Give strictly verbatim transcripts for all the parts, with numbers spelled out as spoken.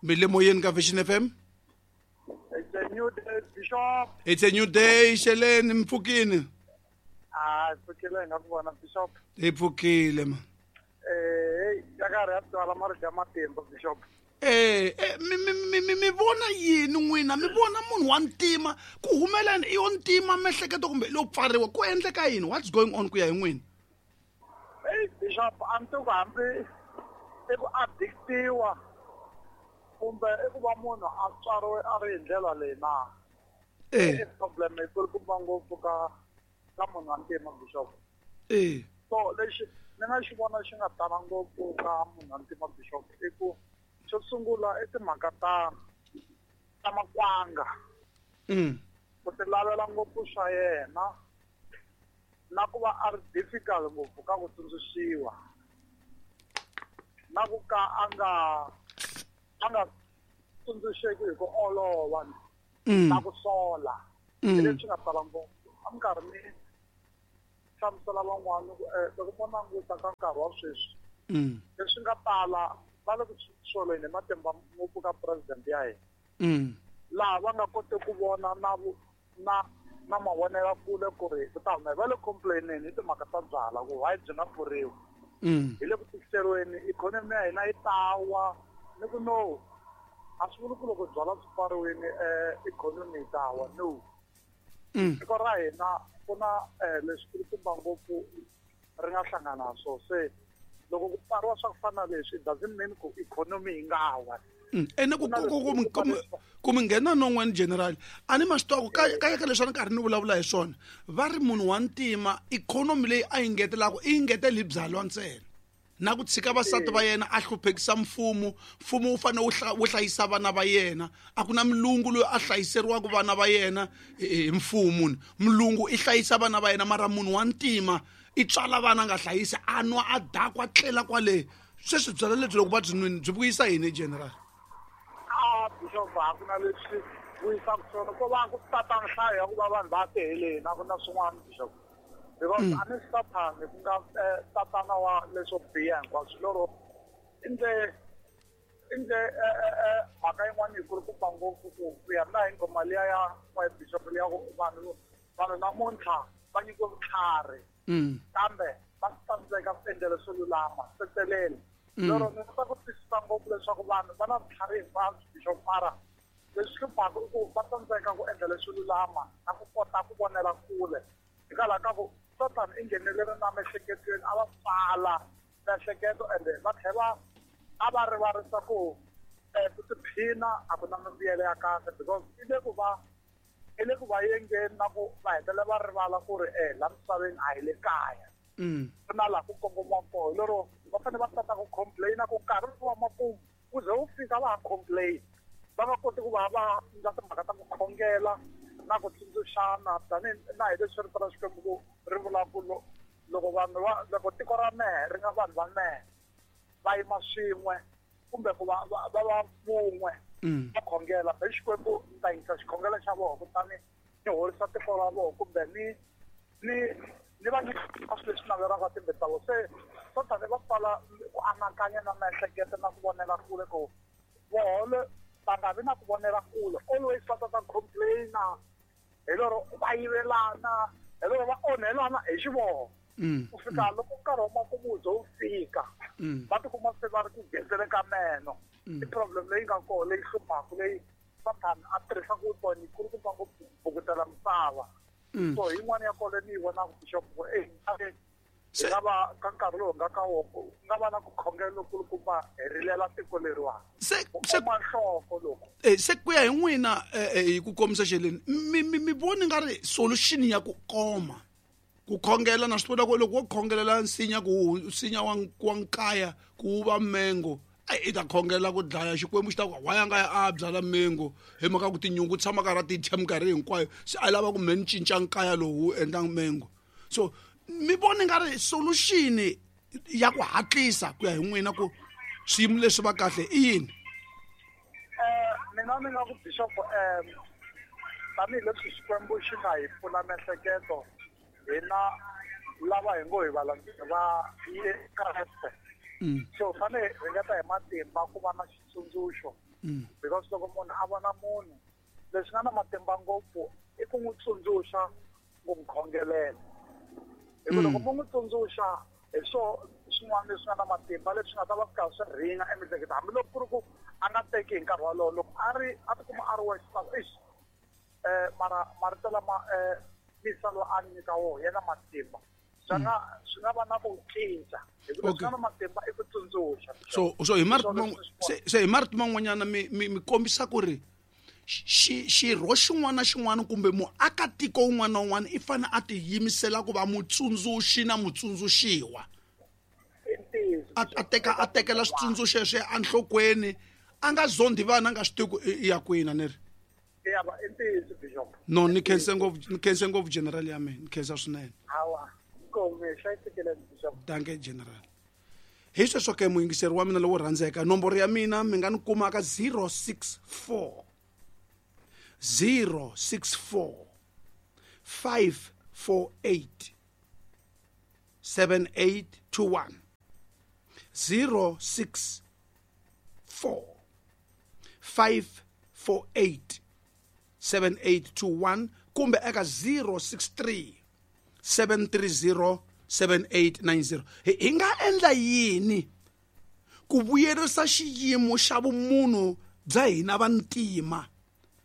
Mi le moyeni ka Vision F M. It's a new day, Bishop. It's a new day, Sheleni mpfukini. Ah, pfukile nga ku vona Bishop. Hi pfukile ma. Eh, ya ka ri twala marito ya matimba Bishop. Eh, eh mi mi mi mi vona yini n'wina? Mi vona munhu wa ntima ku humelela i yo ntima miehleketo kumbe lo pfariwa ku endleka yini? What's going on ku ya hi n'wina? Hey Bishop, a ni ku hambi i ku addictiwa kumbe i ku va munhu a tswariwe a ri hi ndlela leyi na. Eh. I problem yi kulukumba ngopfu ka ka munhu wa ntima Bishop. Eh. So lexi ni nga xi vona xi nga tala ngopfu ka munhu wa ntima Bishop i ku xo sungula i timhaka ta ta makwanga. Mm. Ku ti lavela ngopfu swa yena na ku va a ri difficult ngopfu ka ku tsundzuxiwa na ku ka a nga a nga tsundzuxeki hi ku olova na ku sola. Mm. Hi leswi nga tala ngopfu. A mi karhi mi hlamusela van'wana ku loko mo languta ka nkarhi wa sweswi Mm. leswi nga tala va le ku soleni hi matimba ngopfu ka president ya hina. Mm. Laha va nga koti ku vona na na na mavonelo kule ku ri ku ta humelela. Va le complaineni hi timhaka ta byala ku why byi nga pfuriwi. Mm. Hi le ku tikiseriweni ikhonomi ya hina yi ta wa ni ku no a swi vuli ku loko byala byi pfariwile ikhonomi yi ta wa no. Mm. Tiko ra hina ku na leswi kulukumba ngopfu ri nga hlangana na swona. Se loko ku pfariwa swa ku fana na leswi it doesn't mean ku ikhonomi yi nga wa. Mm. Ene ku ku ku ku ku mi nghena non'weni general a ni ma swi tiva ku ka ka ka leswi a ni karhi ni vulavula hi swona va ri munhu wa ntima ikhonomi leyi a yi ngetelaka i yi ngetela hi byalwa ntsena na ku tshika vasati va yena a hluphekisa mfumo mfumo wu fanele wu wu hlayisa vana va yena a ku na mulungu loyi a hlayiseriwaka vana va yena hi mfumo mulungu i hlayisa vana va yena mara munhu wa ntima i tswala vana a nga hlayisi a nwa a dakwa tlela kwale sweswi byalwa lebyi loko va byi nwini byi vuyisa yini general? A Bishop a ku na leswi vuyisaka swona ko va ku tata nhlayo ya ku va vanhu va teheleni a ku na swin'wana Bishop. Because a ni sathani ku nga tatana wa leswo biha hinkwaswo lero i ndle i ndle mhaka yin'wana yi kulukumba ngopfu ku ku ya na hi nghoma liya ya wa Bishop liya ku vanhu vanhu namuntlha va nyikiwe vutlhari kambe va tsandzeka ku endla leswo lulama setelele. Lero ni kota ku twisisa ngopfu leswaku vanhu va na vutlhari hinkwabyo Bishop mara leswi hluphaka i ku va tsandzeka ku endla leswo lulama na ku kota ku vonela kule hikwalaho ka ku Satan i nghenelele na miehleketweni a va pfala miehleketo ende va tlhela a va rivarisa ku ku tiphina a ku na mimbuyelo ya kahle because i le ku va i le ku va yengeni na ku va hetelela va rivala ku ri eh la misaveni a hi le kaya. Ku na laha ku kongomiwaka kona lero va fanele va tata ku complain-a ku nkarhi wa makumu wu ze wu fika va ha complain va nga koti ku va va endla timhaka ta ku khongela na ku tsundzuxana tanihi na hi leswi rito ra Xikwembu ku ri vulaka ku loko vanhu va loko tiko ra mehe ri nga vanhu va mehe va yima swin'we kumbe ku va va va vun'we va khongela hi Xikwembu ni ta yingisa xikhongelo xa vona kutani ni horisa tiko ra vona kumbe ni ni ni va nyika swilo leswi navelaka timbilu ta vona. Se Sathane va pfala ku anakanya na miehleketo na ku vonela kule ku vohole va nga vi na ku vonela kule always va ta ta complain-a hi lero va yivelana hi lero va onhelana hi xivoho ku fika loko nkarhi wa makumu wu ze wu fika va tikuma se va ri ku gedzeleni ka meno. I problem leyi nga kona leyi hluphaka leyi Sathane a tirhisaka vutomi yi kulukumba ngopfu ku bukutela misava. So yin'wana ya kona ni yi vonaka Bishop ku e hi nga va ka nkarhi lowu nga ka wona ku nga va na ku khongela lokulukumba hi rilela tiko leriwani se ku se oma nhloko loko eh se ku ya hi n'wina hi ku komisa xeleni mi mi mi voni nga ri solution ya ku koma ku khongela na swi tiva ku loko wo khongelela nsinya ku nsinya wa wa nkaya ku wu va mengo a i ta khongela ku dlaya Xikwembu xi ta ku why a nga ya a byala mengo hi mhaka ku tinyungu tshama karhi a ti dya minkarhi hinkwayo se a lava ku me ni cinca nkaya lowu wu endla mengo so mi voni nga ri solution ya ku hatlisa ku ya hi n'wina ku swiyimo leswi va kahle i yini? Eh mina ni nga ku Bishop um tanihileswi Xikwembu xi nga hi pfula miehleketo hina lava hi ngo hi valandzeri va Kreste So fanele ringeta hi matimba ku va na xitsundzuxo because loko munhu a vona munhu leswi nga na matimba ngopfu i ku n'wi tsundzuxa ku n'wi khongelela hi ku loko mo n'wi tsundzuxa hi swo swin'wana leswi nga na matimba leswi nga ta va swi karhi swi ringa emiehleketweni hambiloko ku ri ku a nga teki hi nkarhi wolowo loko a ri a tikuma a ri wexe swa ku eish um mara marito lama um misa loyi a nyika wona ya na matimba swi nga swi nga va na ku cinca hi ku leswi nga na matimba i ku tsundzuxa. So so hi marito se se hi marito man'wanyana mi mi mi kombisa ku ri xi xirho xin'wana na xin'wana kumbe muakatiko wun'wana na wun'wana i fanele a tiyimisela ku va mutsundzuxi na mutsundzuxiwa a a teka a tekela switsundzuxo sweswo enhlokweni a nga zondi vana a nga swi tivi ku i ya kwini a ni ri ya va i ntiyiso bishop. No ni khense ngopfu ni khense ngopfu general ya mina ni khensa swinene. Hawa inkomu hlayisekile bishop. Danke general. Hi sweswo ke muyingiseri wa mina lowo rhandzeka nomboro ya mina mi nga ni kuma ka zero six four zero six four five four eight seven eight two one zero six four five four eight seven eight two one kumbe eka zero six three seven three zero seven eight nine zero. Hi nga endla yini ku vuyerisa xiyimo xa vumunhu bya hina vantima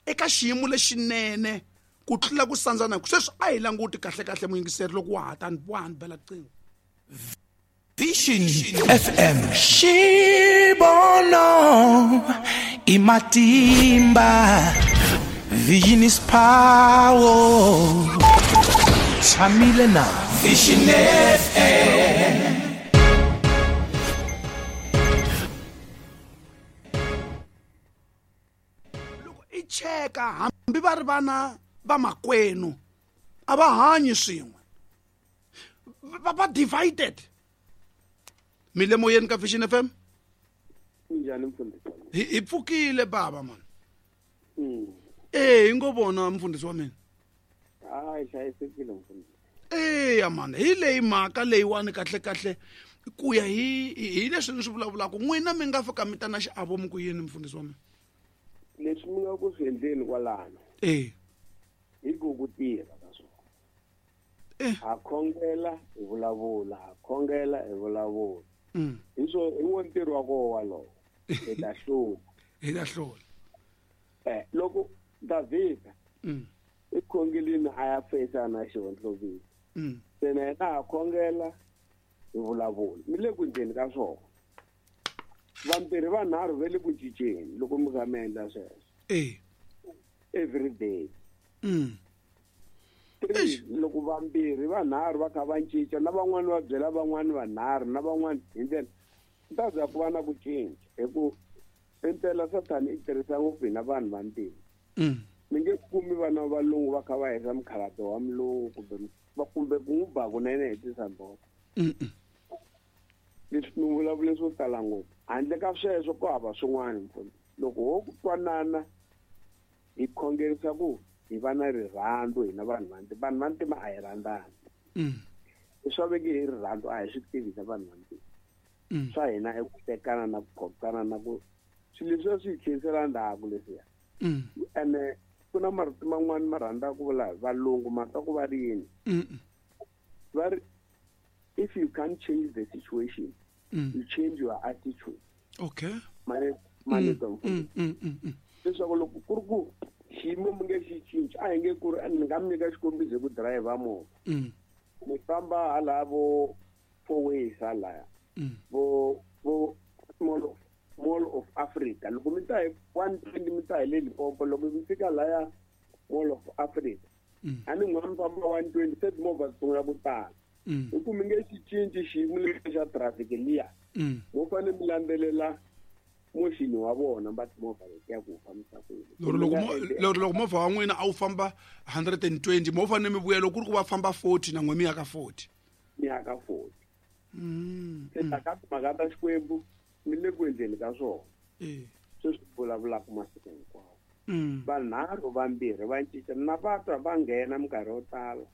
eka xiyimo lexinene ku tlula ku sandzana sweswi a hi languti kahle kahle muyingiseri loko wa ha tani wa ha ni bela riqingho. Vision F M Xibono imatimba Vision is power Tshamile na Vision F M. Loko i cheka hambi va ri vana va makwenu a va hanyi swin'we va va divided. Milemoyeni ka Vision F M. Njhani mfundhisi? Hi hi pfukile baba man. Eh hi ngo vona mfundhisi wa mina. Hayi hlayisekile mfundhisi. Eh ya man hi leyi mhaka leyiwani kahle kahle ku ya hi hi leswi ni swi vulavulaka n'wina mi nga fika mi ta na xiavo mi ku yini mfundhisi wa mina. Leswi mi nga ku swi endleni kwalano. Eh. Hi ku ku tirha ka swona. Eh. Ha khongela hi vulavula, ha khongela hi vulavula. Mm. Hi swo hi wo ntirho wa koho walowo. Hi ta hlula. Hi ta hlula. Eh loko Davhida mm. i khongelini a ya fesa na xihondlovini. Mm. Se na yena ha khongela hi vulavula. Mi le ku endleni ka swona. Vambirhi vanharhu va le ku cinceni loko mi kha mi endla sweswo. Eh. Every day. Mm. Three loko vambirhi vanharhu va kha va cinca na van'wani va byela van'wani vanharhu na van'wani hi ndlela ku ta za ku va na ku cinca hi ku impela Sathani i tirhisa ngopfu hina vanhu vantima. Mm. Mi nge kumi vana va valungu va kha va hisa mukhalabye wa mulungu kumbe va kumbe ku n'wi ba kunene hi tisamboko. Mm. Leswi mi vulavule swo tala ngopfu handle ka sweswo ku hava swin'wana mfundhisi. Loko ho ku twanana hi khongerisa ku hi va na rirhandzu hina vanhu vantima vanhu vantima a hi rhandzani. Mm. Leswi va veke hi rirhandzu a hi swi tivi hina vanhu vantima. Mm. Swa hina i ku tekana na ku phokana na ku swilo leswiya swi hi tlherisela ndzhaku leswiya. Mm. Ene ku na marito man'wani ma rhandzaka ku vula valungu ma twa ku va ri yini. Mm. Va ri if you can't change the situation, mm. you change your attitude. Okay. Mane mane mm. Mm, mm, mm, mm. Leswaku loko ku ri ku xiyimo mi nge xi cinci a hi nge ku ri ni nga mi nyika xikombiso hi ku dirayivha movha. Mm. Mi famba hala vo four ways halaya. Mm. Vo vo Mall of Mall of Africa loko mi ta hi one twenty mi ta hi le Limpopo loko mi fika laya Mall of Africa. Mm. A ni n'wana mi famba one twenty se timovha ti sungula ku tala. Mm. Hi ku mi nge xi cinci xiyimo lexi xa traffic liya. Mm. Mo fanele mi landzelela moxini wa vona va timovha letiya ku fambisa ku yini. Loko loko loko loko movha wa n'wina a wu famba hundred and twenty mo fanele mi vuya loko ku ri ku va famba forty na n'we mi ya ka forty. Mi ya ka forty. Mm. Se ta ka timhaka ta Xikwembu mi le ku endleni ka swona. Eh. Sweswi vulavulaka masiku hinkwawo. Mm. Vanharhu vambirhi va cinca na va twa va nghena minkarhi yo tala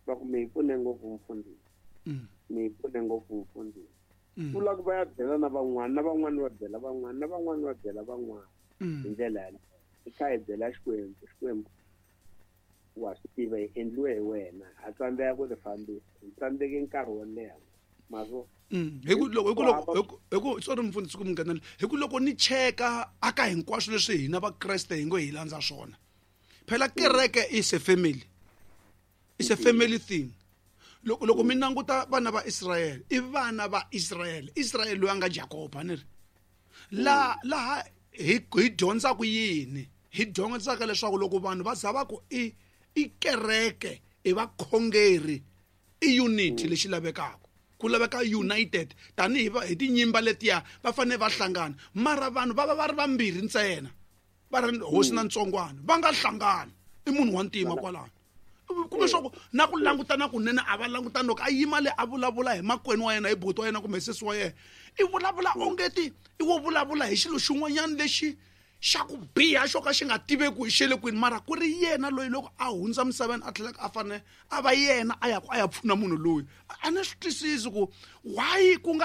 va ku mi hi pfune ngopfu mfundhisi. Mm. Mi hi pfune ngopfu mfundhisi. Vula ku va ya byela na van'wana na van'wana va byela van'wana na van'wana va byela van'wana hi ndlela yaleyo i kha hi byela Xikwembu Xikwembu wa swi tiva hi endliwe hi wena ha tsandzeka ku ti fambisa hi tsandzeke nkarhi wo leha mazo hi ku loko hi ku loko hi ku hi ku sorry mfundhisi ku mi nghenela hi ku loko ni cheka aka hinkwaswo leswi hina vakreste hi ngo hi landza swona phela kereke is a family is a family thing loko loko mi languta vana va Israel i vana va Israel Israel loyi a nga Jacob a ni ri la laha hi hi dyondzaka yini hi dyondzaka leswaku loko vanhu va za va ku i i kereke i vakhongeri i unity lexi lavekaka ku laveka united tanihi hi tinyimba letiya va fanele va hlangana mara vanhu va va va ri vambirhi ntsena va ri hosi na ntsongwana va nga hlangani i munhu wa ntima kwalano kumbe swa ku na ku langutana kunene a va langutani loko a yima le a vulavula hi makwenu wa yena hi buti wa yena kumbe sesi wa yena i vulavula ongeti i wo vulavula hi xilo xin'wanyana lexi xa ku biha xo ka xi nga tiveki hi xele kwini mara ku ri yena loyi loko a hundza misaveni a tlhelaka a fanele a va yena a ya ku a ya pfuna munhu loyi a ni swi twisisi ku why ku nga